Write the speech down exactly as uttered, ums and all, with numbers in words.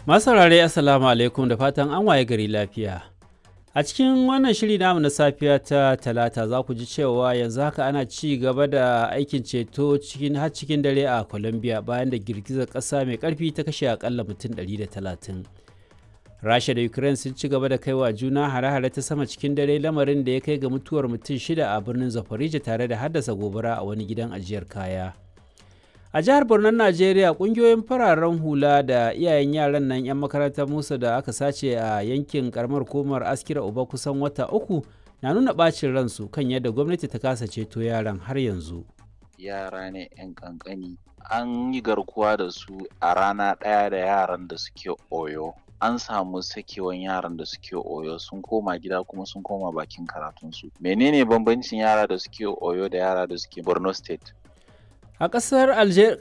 Masu saurare, Assalamu alaikum, da fatan an waye gari lafiya. A cikin wannan shiri namu na safiya ta Talata, za ku ji cewa yanzu haka ana ci gaba da aikin ceto cikin har cikin dare a Colombia bayan da girgizar ƙasa mai ƙarfi ta kashe akalla mutum ɗari da talatin. Rasha da Ukraine sun ci gaba da kaiwa juna hare-hare ta sama cikin dare, lamarin da ya kai ga mutuwar mutum shida a birnin Zaporizhia tare da haddasa gobara a wani gidan ajiyar kaya. A jihar Borno, Najeriya, kungiyoyin fararen hula da iyayen yaran nan 'yan makarantar Musa da aka sace a yankin karamar hukumar Askira Uba kusan wata uku na nuna bacin ransu kan yadda gwamnati ta kasa ceto yaran har yanzu. Yara ne 'yan ƙanƙani, an yi garkuwa da su a rana ɗaya da yaran da suke Oyo. An samu sakewan yaran da suke Oyo, sun koma gida kuma sun koma bakin karatunsu. Menene bambancin yara da suke Oyo da yara da suke Borno State? A ƙasar Algeria